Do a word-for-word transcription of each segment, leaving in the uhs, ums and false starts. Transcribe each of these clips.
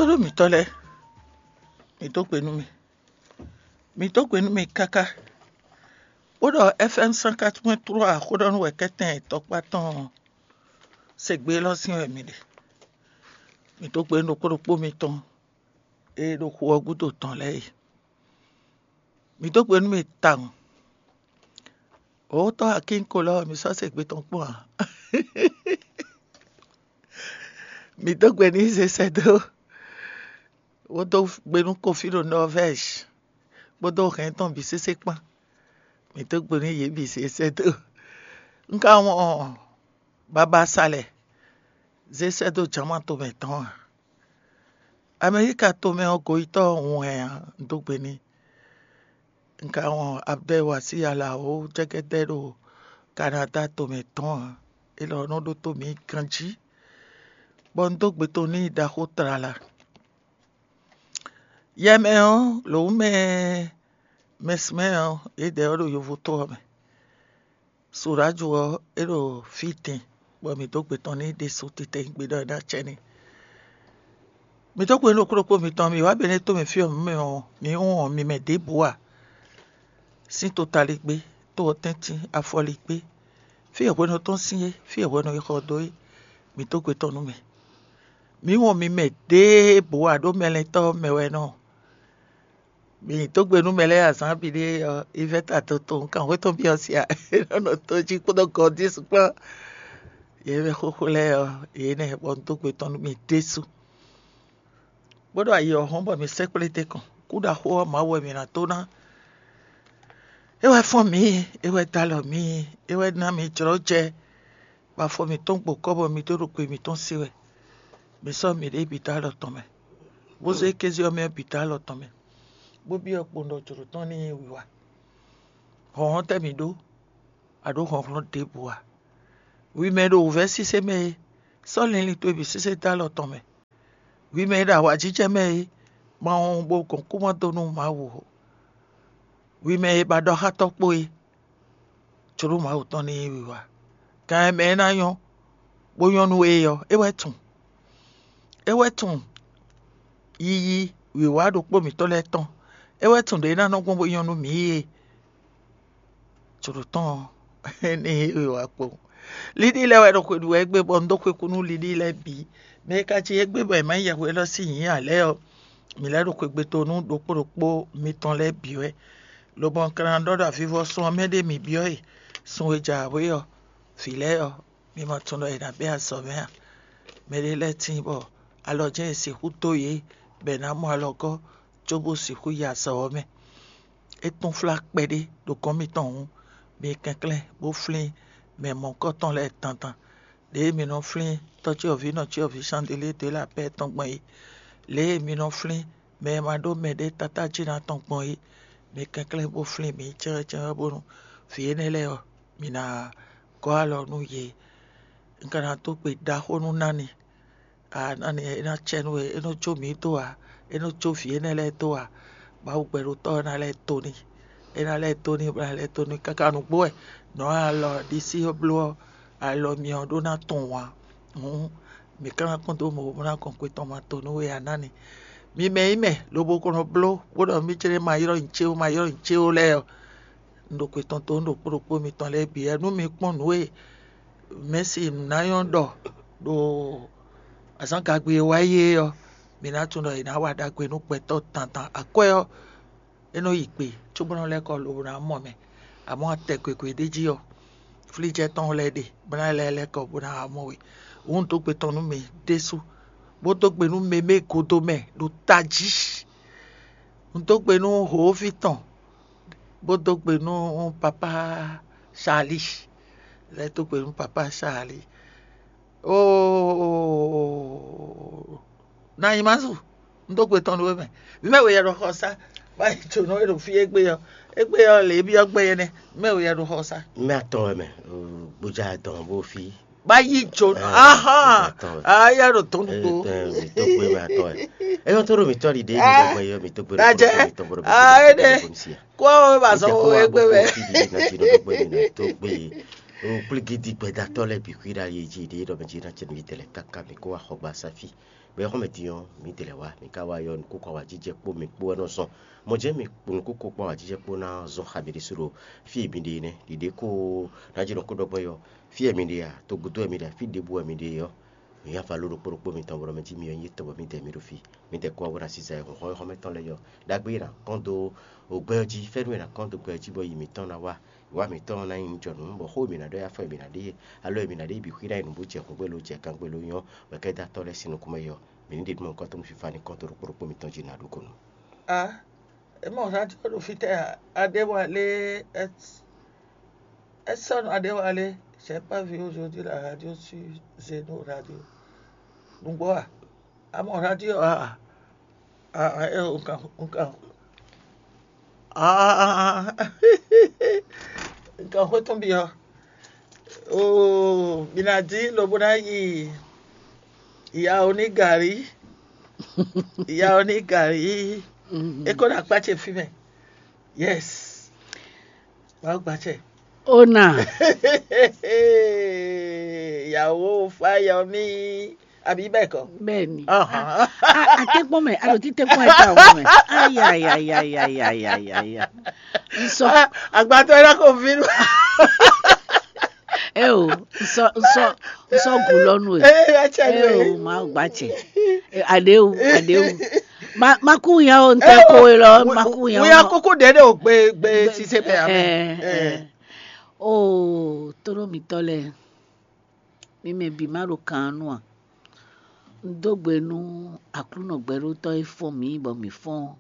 Ɖó mǐtɔn lɛ́ɛ, mǐ dó gbe nú mì. Mǐ dó gbe nú mì káká. Bó ɖɔ F M cent quatre point trois xó ɖɔ nú wɛ kɛ́tɛn tɔkpá tɔn ɔ́, se gbe élɔ́ sín wɛ mǐ ɖe. Mǐ dó gbe nú ɖokpó ɖokpó mitɔn e ɖo xu ɔ́ gúdo tɔn lɛ́ɛ é. Mǐ dó gbe nú mì tawun. Wǒtɔ́ Akínkolo ɔ́, mǐ sɔ́ se gbe tɔn kpɔ́n ǎ. Mǐ dó gbe n'i zé sɛ́ dó, bó dó gbe nú Kofi ɖo Norvège, kpódó hɛn tɔn bǐ sésé kpán. Mǐ dó gbe nú yě bǐ zé sɛ́ dó. Un ka wɔn babá sa lɛ́ɛ zé sɛ́ dó Jama tomɛ tɔn ǎ. Amɛlíka tomɛ ɔ́ goyítɔ́ ɔ́ hun hɛn ǎ, un dó gbe n'i. Un ka wɔn Abdel Wasi Alao jɛgɛdɛ ɖo Kanada tomɛ tɔn ǎ. Élɔ́ nɔ ɖótó mǐ ganjí, bɔ un dó gbe tɔn n'i ɖaxó tlala. Yɛ mɛ ɔ́, lǒ mɛ mɛsmɛ ɔ́, yědɛɛ ɔ́ ɖo yovo tó ɔ́ mɛ. Suráju ɔ́, é ɖo fí din, bɔ mǐ dó gbe tɔn n'i ɖésú titewungbe ɖɔ é ná acɛ n'i. Mǐ dó gbe nú ɖokpó ɖokpó mitɔn, mǐ wá Benɛ́to mɛ fí ɔ́, mǐ mɛ ɔ́, mǐ wɔn mi mɛ ɖěbǔ ǎ. Sín totaligbé, to ɔ́ tɛ́ntin, afɔligbé, fí e hwenu tɔn sín é, fí e hwenu è xɔ dó é, mǐ dó gbe tɔn nú mì. Mǐ wɔn mi mɛ ɖěbǔ ǎ, ɖó mɛlɛntɔ́ mɛ wɛ nɔ. Mǐ dó gbe nú mɛ lɛ́ɛ azǎn bǐ ɖé ɔ́, Ivɛ́ta Toto, un kan xwé tɔn byɔ́ sia, é nɔ nɔ tó jí kpódó Gɔdísu kpán. Yě mɛ xóxó lɛ́ɛ ɔ́, yě nɛ́ bɔ un dó gbe tɔn nú mì ɖésú. Bó ɖo ayi ɔ́ hɔn bɔ mǐ sɛkplé te kɔn. Kú ɖaxó ɔ́, Mawu wɛ mǐ ná tó ná. É wɛ fɔ́n mǐ, é wɛ dó alɔ mǐ, é wɛ ná mǐ jlɔ́ jɛ, bɔ afɔ mǐtɔn gbo kɔ́ bɔ mǐ dó ɖo gbe mǐtɔn se wɛ. Mǐ sɔ́ mǐɖée bǐ dó alɔ tɔn mɛ, bó zé kéze ɔ́ mɛ ɔ́ bǐ dó alɔ tɔn mɛ, bó byɔ́ kpowun ɖɔ jlǒ tɔn ní nyí wiwa. Hlɔ̌nhlɔ́n tɛ́ mǐ ɖó, a ɖǒ hlɔ̌nhlɔ́n ɖěbǔ ǎ. Hwi mɛ e ɖo wǔvɛ́ sísé mɛ é, sɔ́ linlin towe bǐ sésé dó alɔ tɔn mɛ. Hwi mɛ e ɖo awǎjijɛ mɛ é, ma wɔn bo gɔn kú ma dó nú Mawu ó. Hwi mɛ e ba ɖɔ xá tɔ́ kpó é, jlǒ Mawu tɔn ní nyí wiwa. Gan e mɛ é ná nyɔ́, bó nyɔ́ nú we é ɔ́, é wɛ tunwun. É wɛ tunwun yiyi wǐwá ɖokpó mǐtɔn lɛ́ɛ tɔn. É wɛ tunwun ɖě é ná nɔ gbɔn bó nyɔ́ nú mǐ é. Jlǒ tɔn ɔ́, ní wiwa kpowun. Liɖi lɛ́ɛ wɛ ɖo xwe ɖu wɛ égbé, bɔ un dó xwe kú nú liɖi lɛ́ɛ bǐ. Mɛ e ka cí égbé bɔ è ma nyí yɛhwe élɔ́ sín nyǐ ǎ lɛ́ɛ ɔ́, mǐ lɛ́ ɖo xwegbe to nú ɖokpó ɖokpó mitɔn lɛ́ɛ bǐ wɛ, lobɔ un ka ná ɖɔ ɖɔ avivɔsun ɔ́ mɛ ɖé mǐ byɔ́ e. Sun e jɛ awě ɔ́, vǐ lɛ́ɛ ɔ́, mi ma tunwun ɖɔ è nǎ bɛ́ azɔ̌ mɛ a? Mɛɖé lɛ́ɛ tíin bɔ alɔ jɛ́n è sixú dó yě, bɔ è nǎ mɔ alɔgɔ́ cóbó sixú yi azɔ̌ ɔ́ mɛ. É túnflá kpɛɖé ɖo gɔ́n mitɔn hǔn, mi kɛnklɛ́n bó flín mɛ mɔ̌hunkɔtɔn lɛ́ɛ dandan. Lě e mi nɔ flín tɔ́cyɔvǐ nɔcyɔvǐ Sandilíe dó é lɛ apɛ́ tɔn gbɔn é, lě e mi nɔ flín mɛ e ma ɖó mɛɖé tátájínɔ tɔn gbɔn é, mi kɛnklɛ́n bó flín mǐ cɛ́nwɛ́cɛ́nwɛ́ bónú vǐ énɛ́ lɛ́ɛ ɔ́, mi ná gɔ́ alɔ nú yě. Un ka ná dó gbe ɖaxó nú Nani. Aa, Nani, é ná cɛ nú we, é nɔ jó mǐ dó ǎ, é nɔ jó vǐ énɛ́ lɛ́ɛ dó ǎ. Mawu gbɛɖotɔ́ ɔ́ ná lɛ́ dó n'i. É ná lɛ́ dó n'i, bó ná lɛ́ dó n'i káká nǔgbó wɛ nɔ̌ alɔ ɖisí ɔ́ bló ɔ́, alɔ myɔ ɔ́ ɖó ná tɔn wǎn. Hǔn mǐ ka ná kpɔ́n dó mɔ̌ bó ná gɔn xwe tɔn ma to nú we ǎ, Nani. Mi mɛ nyí mɛ lobo ko nɔ bló bó ɖɔ mì jlé ma ylɔ́ nyi céwú, ma ylɔ́ nyi céwú lɛ́ɛ ɔ́, un ɖo xwe tɔn dó nú ɖokpó ɖokpó mitɔn lɛ́ɛ bǐ wɛ. Nú mi kpɔ́n nǔ e Mɛ̌si nǔnáyɔ́ ɖɔ ɖo azǎngagbe e wá yi é ɔ́, mǐ ná tunwun ɖɔ è nǎ wa ɖagbe nú gbɛtɔ́ dandan. Akwɛ́ ɔ́, é nɔ yi gbe cóbó nɔ lɛ́ kɔ lobo ná mɔ mɛ. Amɔ̌, atɛ gěgé ɖé jí ɔ́, flíjɛ́ tɔn lɛ́ɛ ɖe, bó ná lɛ́ lɛ́ kɔ bó ná wá mɔ we. Hǔn un dó gbe tɔn nú mi ɖésú, bó dó gbe nú mɛ e gúdo mɛ ɖo tají. Un dó gbe nú hǒví tɔn, bó dó gbe nú papá Charlie. Lɛ́ dó gbe nú papá Charlie. Oo, na nyi ma zu, un dó gbe tɔn nú we mɛ. Mɛ we yɛ ɖo xɔ sá, bá yi jǒnɔ e ɖo fí égbé ɔ́, égbé ɔ́ lě byɔ́ gbɛ yɛ nɛ́. Mɛ we yɛ ɖo xɔ sá. Mɛ atɔn wɛ mɛ, gbodza dɔn bó fí. Bá yí jǒnɔ. Ahán. Ayá ɖo tɔn nugbo. Tó gbé mɛ atɔn wɛ. Eyɔn tó ɖo mítɔn ɖi ɖe mi dɔgbe yɔ mi tó gbé ɖo mi tɔn bɔrɔ mi. Kó ba zɔn wo égbé mɛ. Tó gbé. Un kplígídí gbɛdatɔ́ lɛ́ɛ bǐ xwíɖá yi jí ɖě ɖɔ mɛ jí ná cɛ nǔ yi tɛlɛ káká mi kó wá xɔ gba sáfí. Bɔ é xɔ́ mɛ din ɔ́, mǐ dě lɛ́ wá, mǐ ka wá yɔ nukúnkún awǎjijɛ kpó mi kpó wɛ nɔ zɔn. Mɔ jɛ́n mi nukúnkún kpó awǎjijɛ kpó ná zɔn xa mi ɖésú ɖo fí e mi ɖe é nɛ́. Ɖiɖě ko ná jí nɔ kó ɖɔ gbɔn é ɔ́, fí e mi ɖe a, togúdo wɛ mi ɖe a, fí ɖěbǔ wɛ mi ɖe é ɔ́, mǐ nyí avaló ɖokpó ɖokpó mitɔn bɔ ɖɔ mɛ jí mi ɔ́ nyí étɔn bɔ mǐdɛɛ mi ɖo fí. Mǐdɛɛ kú wá bó ná sísá e hɔnhɔn e xɔ́mɛtɔn lɛ́ɛ yɔ. Ɖagbe e nǎ kɔn dó ògbɛ ɔ́ jí, fɛ́nú e nǎ kɔn dó gbɛ ɔ́ jí bɔ yi mǐtɔn ná wá. Wǎ mǐtɔn ná nyí jɔnǔ, bɔ xó e mǐ ná ɖɔ é afɔ e mǐ ná ɖe é, alɔ e mǐ ná ɖe é bǐ xwí ná nyí nǔ bó jɛ hǔngbé ló jɛ kangbé ló nyɔ́, bɔ kɛ́ dó atɔ́ lɛ́ɛ sín nukún mɛ yɔ. Mǐ ní ɖe nú mɔ̌hunkɔtɔn nú fífá ní kɔn dó ɖokpó ɖokpó mitɔn jí ná ɖó kɔnú. A ě mɔ radio ɖo fítɛ́ a? Adéwálé, Edson Adéwálé, j'ai pas vu aujourd'hui la radio sur Zeno Radio. Nǔgbó a? A mɔ radio a? A, a, ɛ, un kan, un kan, a, a, a, a, un kan xwé tɔn byɔ́. Oo, mi ná dín lobo ná yi yawo ní gǎrí, yawo ní gǎrí. É kó ná kpá ce fí mɛ. Yes. Wàá gba acɛ. Ó nà. Ìyàwó Fáyọmí, àbí bẹ́ẹ̀ kọ́? Bẹ́ẹ̀ ni. Ahàn. A a tẹ́kpọ́n mɛ, a ɖo tí tẹ́kpọ́n ẹ̀ ta wọ́n mɛ. Ayayayayayayaya. N sɔ. Àgbàtọ́ ẹ náà kò bínú. Ẹ o, n sɔ n sɔ n sɔ gùn lɔnu e. Ẹ ẹ tiẹ̀ Ẹ nù o, ẹ. Màá gbà cɛ. Ẹ, Àdéhùn, àdéhùn. Ma ma kú yan o, n tẹ ko e lɔ, ma kú yan o. Wíyá kókó ɖɛ̌ ɖe o gbe gbe sise mɛ amɛ. Ẹ ẹ. O tónú mǐtɔn lɛ́ɛ, mi mɛ bǐ má ɖo kan nú a? Un dó gbe nú Aklúnɔ gbɛɖótɔ́ e fɔ́n mǐ bɔ mǐ fɔ́n ɔ́.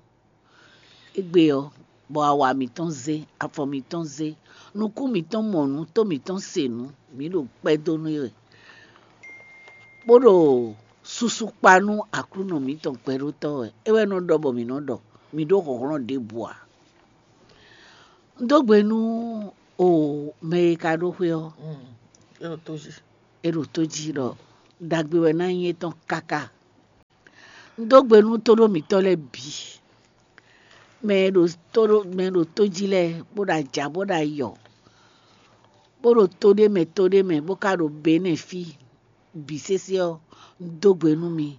Égbé ɔ́, bɔ awa mǐtɔn zé, afɔ mǐtɔn zé, nukún mǐtɔn mɔ nǔ, tó mǐtɔn se nǔ, mǐ ɖo kpɛ́ dó nú é wɛ, bó ɖo susu kpa nú Aklúnɔ mǐtɔn gbɛɖótɔ́ wɛ. É wɛ nɔ ɖɔ bɔ mǐ nɔ ɖɔ, mǐ ɖó hlɔ̌nhlɔ́n ɖěbǔ ǎ. Un dó gbe nú o mɛ e ka ɖó xwé ɔ́, Mm. É ɖo tó jí. É ɖo tó jí ɖɔ ɖagbe wɛ ná nyí étɔn káká. Un dó gbe nú tóɖó mǐtɔn lɛ́ɛ bǐ, mɛ e ɖo tó ɖó mɛ e ɖo tó jí lɛ́ɛ, bó ɖo ajǎ, bó ɖo ayɔ, bó ɖo to ɖé mɛ, to ɖé mɛ, bó ka ɖo Benɛ́ɛ fí bǐ sésé ɔ́, un dó gbe nú mi.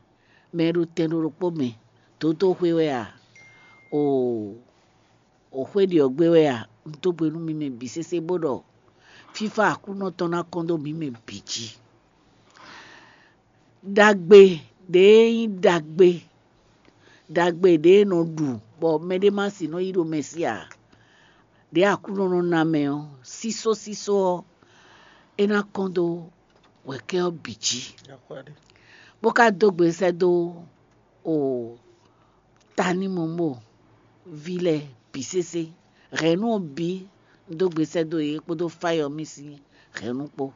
Mɛ e ɖo tɛn ɖo ɖokpó mɛ, dǒdó xwé wɛ a? Oo, o xwé ɖi ɔ́ gbé wɛ a? Un dó gbe nú mi mɛ bǐ sésé bó ɖɔ fífá Aklúnɔ tɔn ná kɔn dó mǐ mɛ bǐ jí. Ɖagbe ɖě e nyí ɖagbe, ɖagbe ɖě e nɔ ɖu bɔ mɛɖé má sixú nɔ yi ɖo mɛ sí ǎ, ɖě Aklúnɔ nɔ ná mɛ ɔ́, sísó sísó ɔ́, é ná kɔn dó wɛ̌kɛ́ ɔ́ bǐ jí, bó ka dó gbe sɛ́ dó o tanímɔmɔ ví lɛ́ɛ bǐ sésé. Hɛ̌nnu ɔ́ bǐ un dó gbe sɛ́ dó yě kpódó Fáyɔmí sín hɛ̌nnu kpó,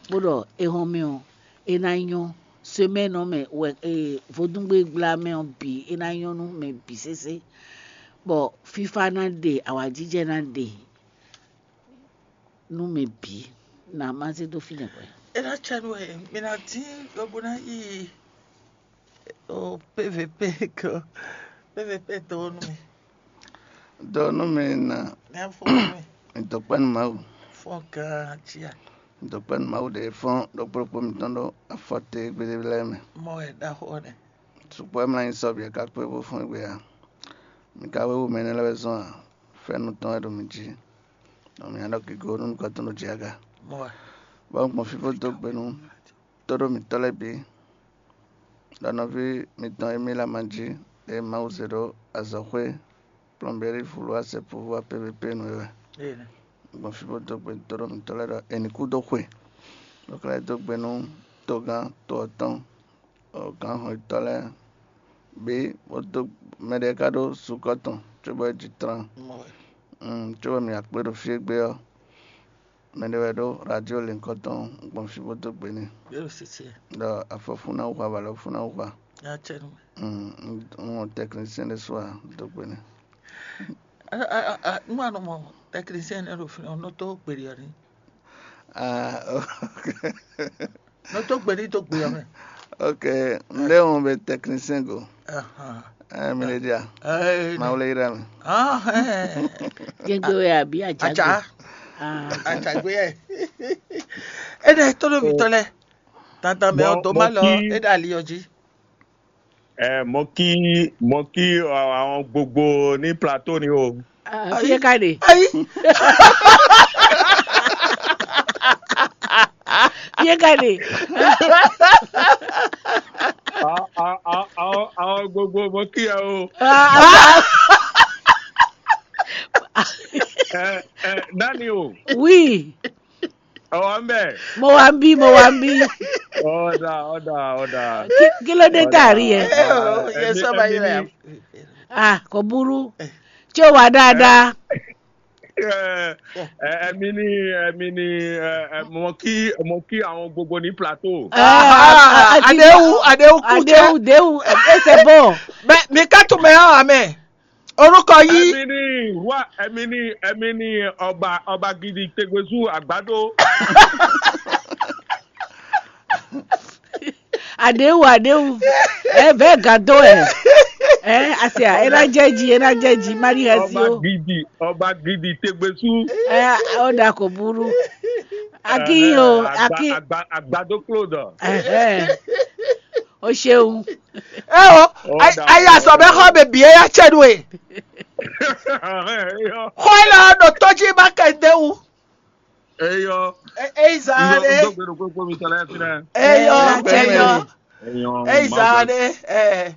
bó ɖɔ éhɔ́nmɛ ɔ́, é ná nyɔ́, semɛ́nɔ mɛ wɛ e vodúngbégbla mɛ ɔ́ bǐ, é ná nyɔ́ nú mɛ bǐ sésé, bɔ fífá ná ɖe, awǎjijɛ ná ɖe nú mɛ bǐ. Nǎ má zé dó fínɛ́ hwɛ̌. É ná cɛ nú we, mi ná dín lobo ná yi o P V P ko. P V P dó nú mi. Dó nú mi ná. Ní afɔ nú mi. Dɔkpɛ́nú Mawu. Fɔ gán cia. Dɔkpɛ́nú Mawu ɖe fɔ́n ɖokpó ɖokpó mitɔn ɖó afɔte gbéɖé lɛ́ɛ mɛ. Mɔ wɛ ɖaxó nɛ. Sukpɔ́ e mlá nyi sɔ́ bǐ é ka kpé bó fɔ́n égbé ǎ. Mi ka wéwu mɛ énɛ́ lɛ́ɛ wɛ zɔ́n ǎ. Fɛ́nú tɔn wɛ ɖo mi jí. Nɔ mǐ ná ɖɔ gěgé nú nukɔn tɔn ɖo jǐ aga. Mɔ wɛ. Bɔ un gbɔn fí bó dó gbe nú tóɖó mǐtɔn lɛ́ɛ bǐ, ɖɔ nɔví mitɔn Emile Amanjí e Mawu zé ɖó azɔ̌xwé plɔ́nbérí vǔlú asɛ́púvú A P V P nu é wɛ. Gbɔn fí bó dó gbe dó ɖo mǐtɔn lɛ́ɛ ɖɔ è ní kú dó xwe, bó ka lɛ́ dó gbe nú togán to ɔ́ tɔn, gǎnhɔnyitɔ́ lɛ́ɛ bǐ, bó dó mɛɖé ka ɖó sukɔ́ tɔn cóbɔ é ji tlán. Cóbɔ mǐ wá kplé ɖo fí égbé ɔ́, mɛɖé wɛ ɖó radio lěnkɔ́ tɔn gbɔn fí bó dó gbe n'i. Ɖɔ afɔfún ná hu avǎlɔfún ná hu a. Un mɔ tɛknisɛn ɖé su a dó gbe n'i. Nú a nɔ mɔ tɛknisɛn nɛ́ ɖo fínɛ́ ɔ́, nɔ tó gbeɖi ɔ́ ní. Ah, ok. Nɔ tó gbeɖi tó gbe ɔ́ mɛ. Ok, ndé wọn bɛ tɛknisɛn go. Ɛ mi lè dia. Mawu lè yira mi. Jɛgbe wɛ àbí àjàgbé? Àjà. Àjàgbé ɛ. Énɛ́ tónúmítɔ́ lɛ́ɛ, dandan mɛ ɔ́ dó má lɔ é ɖo ali ɔ́ jí. Ɛ, mo kí mo kí àwọn gbogbo ní plateau ni o. Fíyé ká ɖe. Fíyé ká ɖe. Àwọn gbogbo mo kí ẹ o. Ẹ ẹ dani o. Oui. Ọwọ́ ń bẹ̀. Mo wá ń bí, mo wá ń bí. Ọ̀dà ọ̀dà ọ̀dà. Kí ló dé tá a rí ẹ? Yẹ sọ bá yẹ. Ah, kò burú. Tí ó wà dáadáa. Ẹ̀mí ni ẹ̀mí ni mo kí mo kí àwọn gbogbo ní plateau. Adéhùn Adéhùn kú jẹ́. Adéhùn Déhùn, ẹ ṣe bọ̀. Bẹ́ẹ̀ mi ká tún mẹ́ ọ́ àmẹ́. Orúkọ yìí. Ẹ̀mí ni wá ẹ̀mí ni ẹ̀mí ni ọba ọba gidi tegbezu àgbàdo. Adéhùn Adéhùn, ẹ bẹ́ẹ̀ gàdó ẹ. Ẹ àṣẹ ẹ ná jẹ́ jí, ẹ ná jẹ́ jí, Maria sí Ọba o. Gidi ọba gidi tegbezu. Ẹ ó dà kò burú. Akínyìn o, akí. Àgbàdo Claude. Ẹhẹ́. O ṣeun. Ẹ o, ayé asọ̀bẹ́ xɔ bèbí ẹ yá tsẹ́ nu e. Xɔ ẹ lọ ɖo tɔjí bá kɛ dé wu. Eyɔ. Eyi zan ɖe. Ndo gbɛɖo kpekpe mi tɔlɛ fi nɛ. Eyɔ Ẹ, eyɔ Eyɔ. eyi zan ɖe. Ɛ.